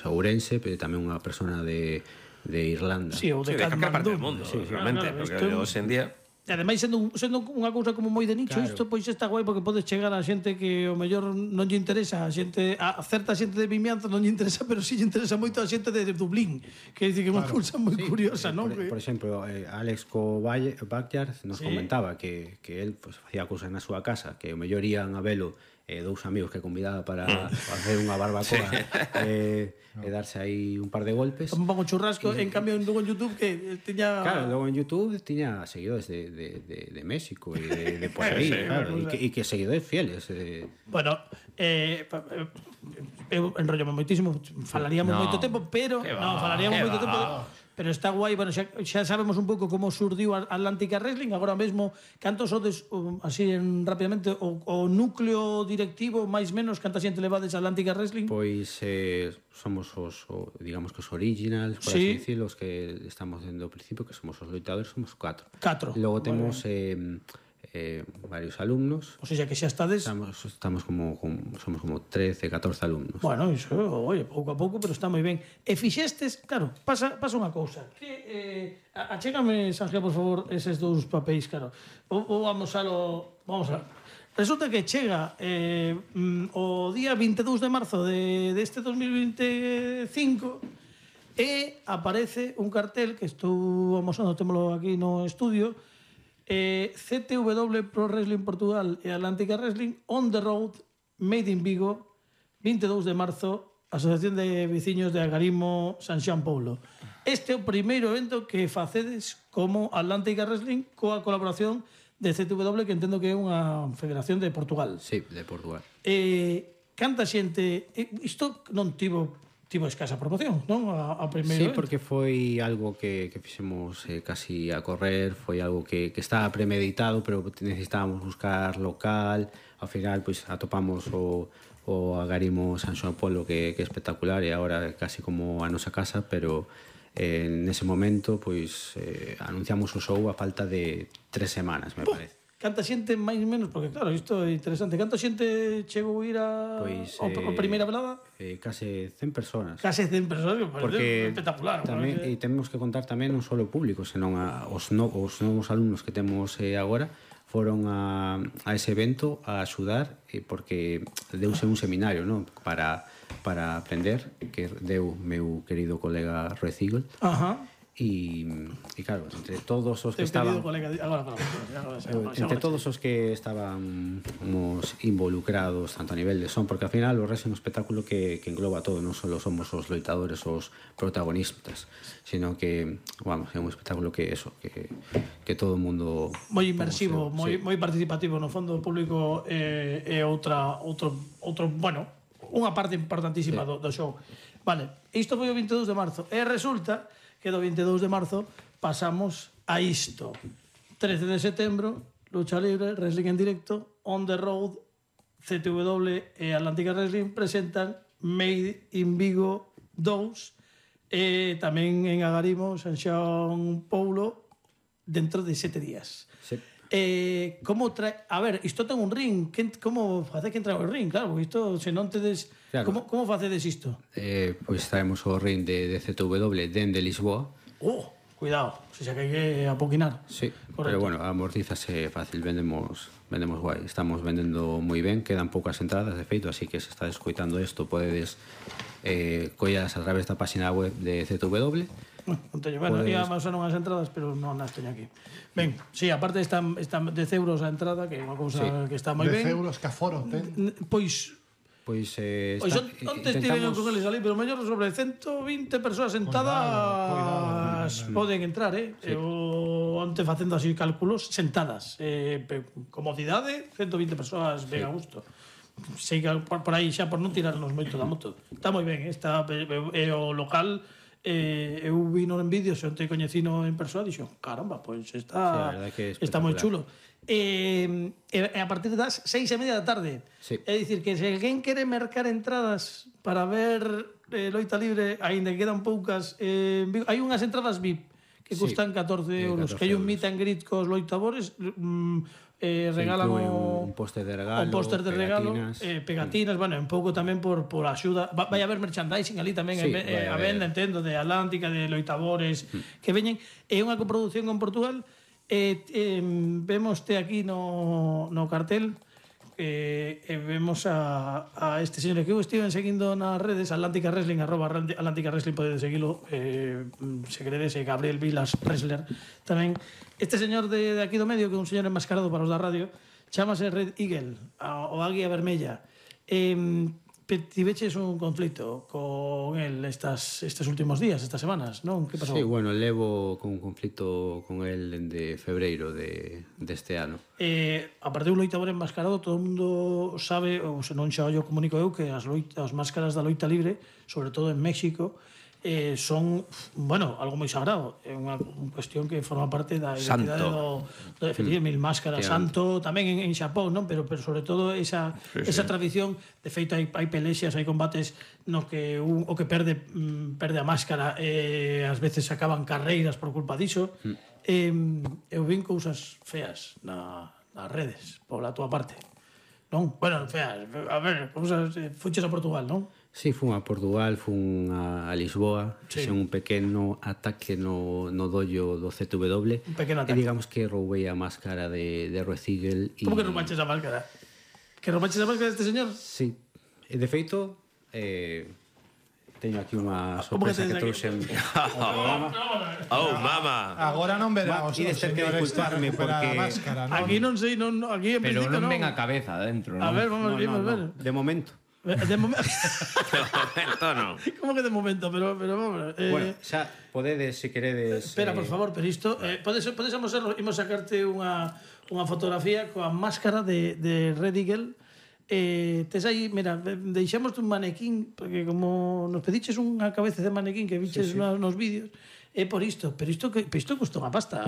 Ourense, pero tamén unha persona de Irlanda. Sí, ou de calquera parte Katmandú. do mundo, Sí, realmente, porque hoxe en día... E ademais, sendo unha cousa como moi de nicho, Claro. isto pois está guai porque podes chegar a xente que o mellor non lle interesa, a certa xente de Vimianzo non lle interesa, pero si lle interesa moito a xente de Dublín, que dice que é unha cousa moi curiosa, non? Por exemplo, Alex Backyard nos comentaba que él pues, facía cousas na súa casa, que o mellor ian a velo dous amigos que convidaba para facer unha barbacoa e darse aí un par de golpes. Un pouco churrasco, en cambio logo en YouTube que tiña... Claro, logo en YouTube tiña seguidores de México e de por aí, claro, e que seguidores fieles. Bueno, eu enrollome moitísimo, falaríamos moito tempo, pero falaríamos moito tempo, pero está guai, bueno, xa sabemos un pouco como surdiu Atlántica Wrestling, agora mesmo cantos sodes así rapidamente o núcleo directivo máis menos canta xente levades a Atlántica Wrestling? Pois somos os digamos que os originals, por así decirlo, os que estamos dende o principio, que somos os loitadores, somos 4. Logo temos varios alumnos. O sea que xa estades... Estamos como somos como 13, 14 alumnos. Bueno, iso, oye, pouco a pouco, pero está moi ben. E fixestes, claro, pasa unha cousa. Que achégame, Sanjeo, por favor, eses dous papéis, claro. Ou vamos a... Resulta que chega o día 22 de marzo deste 2025 e aparece un cartel que estou amosando, témolo aquí no estudio, CTW Pro Wrestling Portugal e Atlántica Wrestling on the road, made in Vigo, 22 de marzo, Asociación de Veciños de Algarimo, San Xoán Poulo. Este é o primeiro evento que facedes como Atlántica Wrestling coa colaboración de CTW, que entendo que é unha federación de Portugal. Sí, de Portugal. Canta xente... Isto non tivo escasa promoción, non? A primeiro evento. Porque foi algo que fixemos casi a correr, foi algo que estaba premeditado, pero necesitábamos buscar local. Ao final, pois, atopamos o Agarimo San Xoán Poulo, que é espectacular, e agora casi como a nosa casa, pero nese momento, pois, anunciamos o show a falta de 3 semanas, me parece. Canta xente máis menos, porque claro, isto é interesante. Canta xente chegou a ir a primeira velada? Case 100 personas. Case 100 personas, porque espectacular. Tamén, e temos que contar tamén non só o público, senón os novos alumnos que temos agora foron a ese evento a axudar, porque deuse un seminario, non? Para aprender, que deu meu querido colega Roy Ziegel. E claro, entre todos os que estaban entre todos os que estábamos involucrados tanto a nivel de son, porque ao final o wrestling é un espectáculo que engloba todo, non só somos os loitadores os protagonistas, sino que, vamos, é un espectáculo que todo o mundo moi inmersivo, moi participativo, no fondo o público é outro, bueno, unha parte importantísima do show. Vale, isto foi o 22 de marzo e resulta que do 22 de marzo pasamos a isto. 13 de setembro, lucha libre, wrestling en directo, on the road, CTW e Atlántica Wrestling presentan Made in Vigo 2 e tamén en Agarimo, San Xoán Poulo, dentro de 7 días. Sí. A ver, isto ten un ring, como face que entra o ring? Claro, porque isto, se non tedes... Claro. Como facedes isto? Pois traemos o ring de CTW dende Lisboa. Cuidado, se xa que hai que apoquinar. Sí, correcto. Pero bueno, amortízase fácil, vendemos guai, estamos vendendo moi ben, quedan poucas entradas de feito, así que se está escoitando isto podedes collas a través da página web de CTW. Bueno, ia máis ou as entradas, pero non as teño aquí. Ben, sí, aparte están 10 euros a entrada, que é unha cousa que está moi ben. 10 euros que aforo ten. Pois onte estiven con eles ali, pero mellor sobre 120 persoas sentadas poden entrar, eu onte facendo así cálculos sentadas, comodidade, 120 persoas ben a gusto. Sei que por aí xa por non tirarnos moito da moto. Está moi ben, o local eu vino en vídeos e onte coñecino en persoa, dixo, caramba, pois está moi chulo. A partir das 6:30 da tarde. É dicir, que se alguén quere mercar entradas para ver loita libre, aínda que quedan poucas, hai unhas entradas VIP que custan 14 euros, que hai un meet and greet cos loitadores, regalan un póster de regalo, pegatinas, bueno, un pouco tamén por axuda. Vai haber merchandising ali tamén, a venda, entendo, de Atlántica, de Loitabores, que veñen. É unha coproducción con Portugal. Vemos aquí no cartel, vemos a este señor que eu estive seguindo nas redes, Atlántica Wrestling, @Atlántica Wrestling, podedes seguilo, se queredes, Gabriel Vilas Wrestler tamén. Este señor de aquí do medio, que é un señor enmascarado para os da radio, chamase Red Eagle, o Águia Vermella. Tiveches un conflito con él estes últimos días, estas semanas, non? Que pasou? Sí, bueno, levo con un conflito con él de febreiro deste ano. Aparte do loitador enmascarado, todo o mundo sabe, ou se non xa o comunico eu, que as máscaras da loita libre, sobre todo en México, son, bueno, algo moi sagrado. É unha cuestión que forma parte da identidade do Mil Máscaras, santo, tamén en Xapón, non? Pero sobre todo esa tradición. De feito, hai pelexas, hai combates no que o que perde a máscara, ás veces acaban carreiras por culpa diso. Eu vin cousas feas nas redes, pola túa parte, non? Bueno, feas, a ver, cousas... Fuches a Portugal, non? Sí, fun a Portugal, fun a Lisboa, fixen un pequeno ataque no dollo do ZW. Un pequeno ataque. E digamos que roubei a máscara de Red Eagle. Como que roubaches a máscara? Que roubaches a máscara deste señor? Sí. E de feito, teño aquí unha sorpresa que trouxen ao programa. Oh, mama! Agora non verá os señores para recuperar a máscara, non? Aquí non sei, aquí en pero principio non ven a cabeza dentro, non? A ver, vamos ver. De momento. De momento non. Como que de momento, pero vamos. Bueno, xa podedes, se queredes... Espera, por favor, pero isto podes amosarlo, imos sacarte unha fotografía coa máscara de Red Eagle. Tes aí, mira, deixamos un manequín, porque como nos pediches unha cabeza de manequín que viches nos vídeos, é por isto, pero isto custa unha pasta,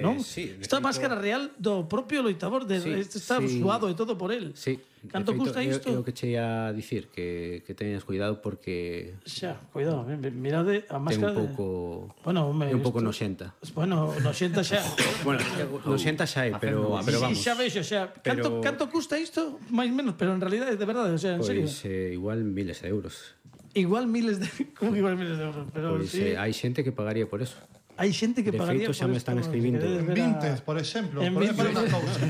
non? Sí, esta máscara real do propio loitador, está suado e todo por él. Sí. Canto custa isto? É o que che ia dicir, que teñas cuidado porque... Xa, cuidado, mirade a máscara... Ten un pouco... Bueno, é un pouco noxenta. Bueno, noxenta xa. Bueno, noxenta xa é, pero vamos. Xa vexo, xa. Canto custa isto? Mais menos, pero en realidad, de verdade, o sea, en serio. Pois igual miles de euros. Igual miles de... Como que igual miles de euros? Pero pois sí. hai xente que pagaría por eso. Hai xente que pagaría por isto. De feito, xa me están escribindo. Vintes, por exemplo. Por unha cousa.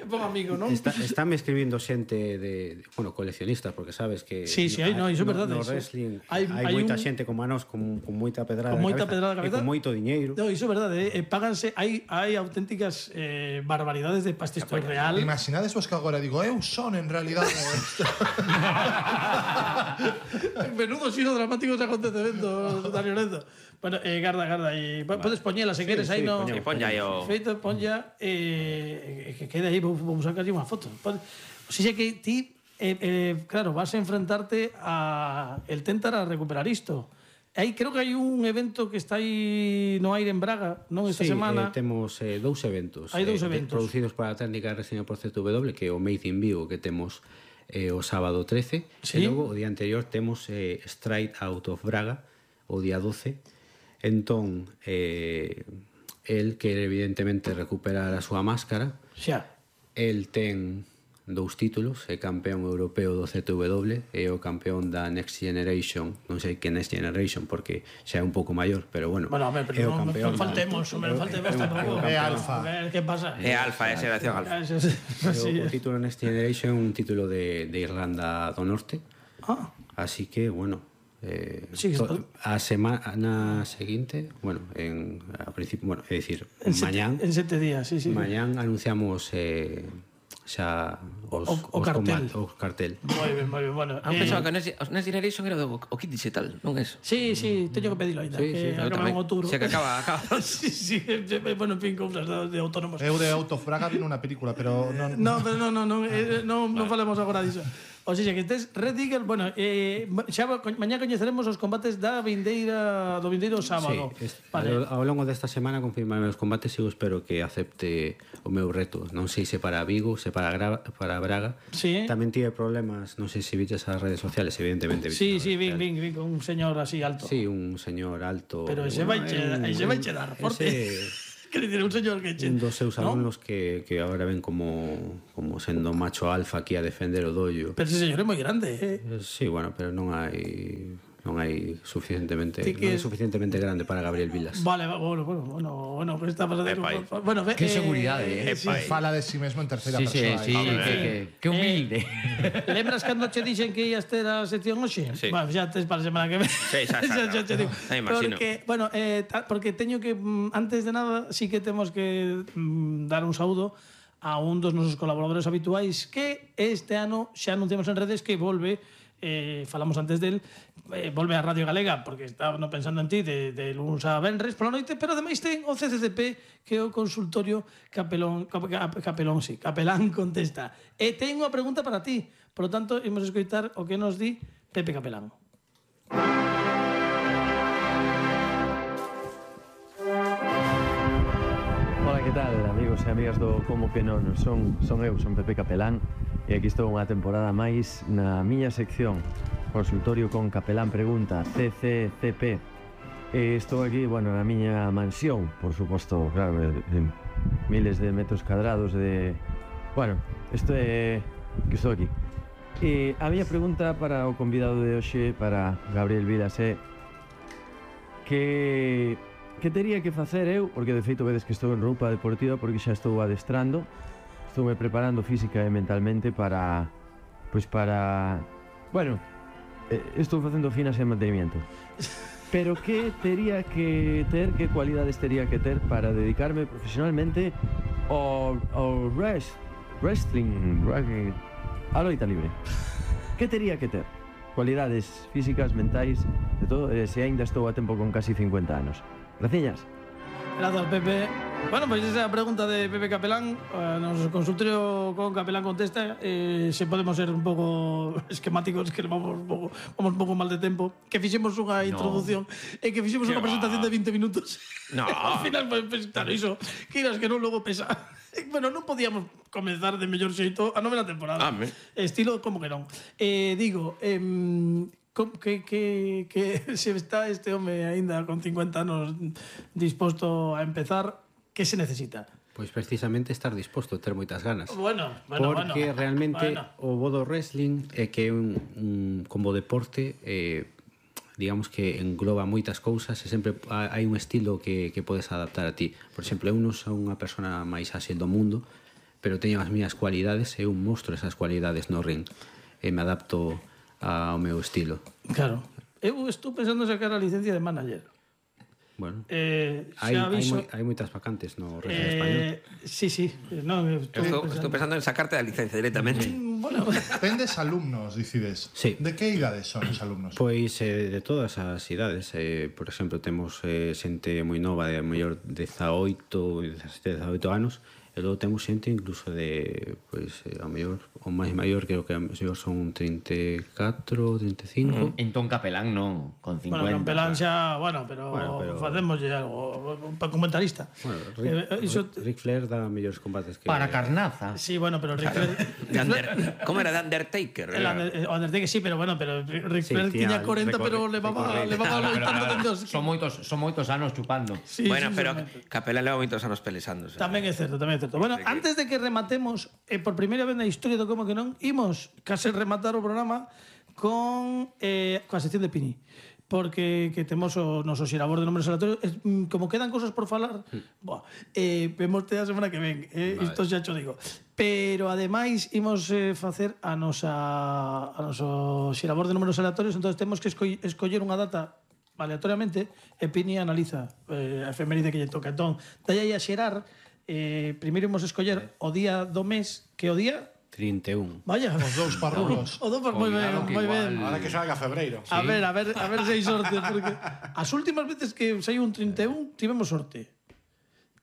Bom amigo, non? Estánme escribindo xente de... Bueno, coleccionistas, porque sabes que... Sí, hai, non, iso é verdade. No wrestling hai moita xente como a nós, con moita pedrada de cabeza. E con moito diñeiro. No, iso é verdade. Páganse... Hai auténticas barbaridades de pasta. Isto é real. Imaginades vos que agora digo, eu son en realidade... Menudo xiro dramático ese acontecemento, Dani Lorenzo. Bueno, garda, e podes poñela se queres aí no... Sí, pon ya yo. Feito, pon ya, que quede aí, vamos a sacar unha foto. O sea que ti, claro, vas a enfrentarte a el tentar a recuperar isto. Aí creo que hai un evento que está aí no aire en Braga, non, esta semana. Temos dous eventos. Hai dous eventos. Producidos para a técnica de reseña por ZW, que é o Made in Vigo, que temos o sábado 13. Sí. E logo, o día anterior, temos Straight Out of Braga, o día 12. Entón, el quere evidentemente recuperar a súa máscara. Xa. El ten 2 títulos, é campeón europeo do ZW e o campeón da Next Generation. Non sei que Next Generation porque xa é un pouco maior, pero bueno, a ver, pero non faltemos tampouco. É alfa. A ver, que pasa? É alfa, é xeración alfa. O título Next Generation é un título de Irlanda do Norte. Así que, bueno, a semana seguinte, bueno, a principio, bueno, é dicir, mañán en 7 días, sí. Mañán anunciamos xa o cartel. O cartel. Moi ben, bueno. Pensaba que Next Generation era o kit digital, non é eso? Sí, teño que pedilo ainda, que acaba en outubro. Se que acaba. Sí, bueno, en fin, cousas de autónomos. Eu de Autofraga vino unha película, pero non... No, pero non falemos agora diso. O sea, que estes Red Eagle, bueno, xa mañá coñeceremos os combates do vindeiro sábado. Sí, vale. Ao longo desta semana confirmarme os combates e eu espero que acepte o meu reto. Non sei se para Vigo, se para Braga. Sí. Tamén tive problemas, non sei se viches as redes sociales, evidentemente. Sí, vin con un señor así alto. Sí, un señor alto. Pero ese vai che dar forte. Quer dicir, un señor que... Un dos seus alumnos que agora ven como sendo macho alfa aquí a defender o dollo. Pero ese señor é moi grande, Sí, bueno, pero non hai suficientemente grande para Gabriel Vilas. Vale, bueno, pero está pasando... Bueno, que seguridade, Fala de si mesmo en terceira persoa. Sí, que humilde. Lembras cando che dixen que ias ter a sección hoxe? Sí. Bueno, xa tes para a semana que ven. Sí, xa te digo. Imagino. Porque teño que, antes de nada, sí que temos que dar un saúdo a un dos nosos colaboradores habituais que este ano xa anunciamos en redes que volve, falamos antes del, volve a Radio Galega, porque estaba pensando en ti de luns a venres pola noite, pero ademais ten o CCCP, que é o consultorio Capelán Contesta. E ten unha pregunta para ti, por lo tanto, imos escoitar o que nos di Pepe Capelán. Hola, que tal, amigos e amigas do Como que non? Son Pepe Capelán e aquí estou unha temporada máis na miña sección Consultorio con Capelán Pregunta, CCCP. E estou aquí, bueno, na miña mansión, por suposto, claro, de miles de metros cadrados de... Bueno, isto é que estou aquí. E a miña pregunta para o convidado de hoxe, para Gabriel Vilas, é que tería que facer eu, porque de feito vedes que estou en roupa deportiva porque xa estou adestrando, estou me preparando física e mentalmente para, bueno, estou facendo finas en mantenimiento. Pero que tería que ter, que cualidades tería que ter para dedicarme profesionalmente ao wrestling, a loita libre? Que tería que ter? Cualidades físicas, mentais, de todo, se aínda estou a tempo con casi 50 anos. Graciñas. Grazas, Pepe. Bueno, pois esa é a pregunta de Pepe Capelán. Nos consultorio con Capelán Contesta. Se podemos ser un pouco esquemáticos, que vamos un pouco mal de tempo, que fixemos unha introducción e que fixemos unha presentación de 20 minutos. No. Ao final, pues, claro, iso, que irás que non logo pesa. Bueno, non podíamos comenzar de mellor xeito a novena temporada. Estilo como que non. Digo, que se está este home aínda con 50 anos disposto a empezar, que se necesita? Pois precisamente estar disposto a ter moitas ganas. Bueno. Porque realmente o bo do wrestling é que é como deporte, digamos que engloba moitas cousas e sempre hai un estilo que podes adaptar a ti. Por exemplo, eu non son unha persona máis áxil do mundo, pero teño as miñas cualidades e eu mostro esas cualidades no ring e me adapto ao meu estilo. Claro. Eu estou pensando en sacar a licencia de manager. Bueno, hai moitas vacantes no wrestling español. Sí. No, estou pensando en sacarte a licencia directamente. Bueno, Tendes alumnos, dicides. Sí. De que idades son os alumnos? Pois de todas as idades. Por exemplo, temos xente moi nova de mellor 18 anos. E logo temos xente incluso de, pois, a mellor, o máis maior, creo que a mellor son 34, 35. Entón Capelán non, con 50. Bueno, Capelán xa, pero facémoslle algo, un comentarista. Bueno, Ric Flair dá mellores combates que... Para carnaza. Sí, bueno, pero Ric Flair... Como era de Undertaker? O Undertaker sí, pero Ric Flair tiña 40, pero levaba loitando. Son moitos anos chupando. Bueno, pero Capelán leva moitos anos pelesándose. Tamén é certo. Bueno, antes de que rematemos, por primeira vez na historia do Como que non, imos case rematar o programa con a sección de Pini. Porque que temos o noso xirabor de números aleatorios. Como quedan cousas por falar, vemos a semana que ven. Isto xa cho digo. Pero, ademais, imos facer a noso xirabor de números aleatorios. Entón, temos que escoller unha data aleatoriamente e Pini analiza a efeméride que lle toca. Entón, dalle aí a xerar. Primeiro imos escoller o día do mes, que o día 31. Vaya, Os dous parrulos. o dous moi ben. Ahora que salga febreiro. A ver se hai sorte, porque as últimas veces que saiu un 31 tivemos sorte.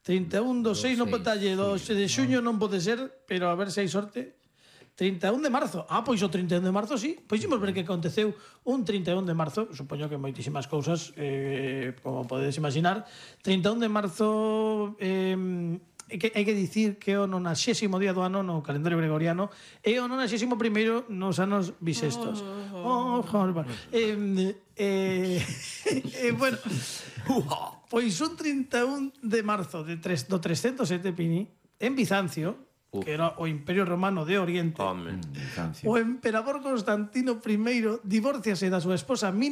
31 do 6 non pode talle, do de xuño non pode ser, pero a ver se hai sorte. 31 de marzo. Pois o 31 de marzo sí. Pois imos ver que aconteceu un 31 de marzo. Supoño que moitísimas cousas, como podedes imaginar. 31 de marzo... hai que dicir que é o 90º día do ano no calendario gregoriano e o 91º nos anos bisestos. Bueno, pois un 31 de marzo do 307 Pini, en Bizancio, que era o Imperio Romano de Oriente, o emperador Constantino I divórciase da súa esposa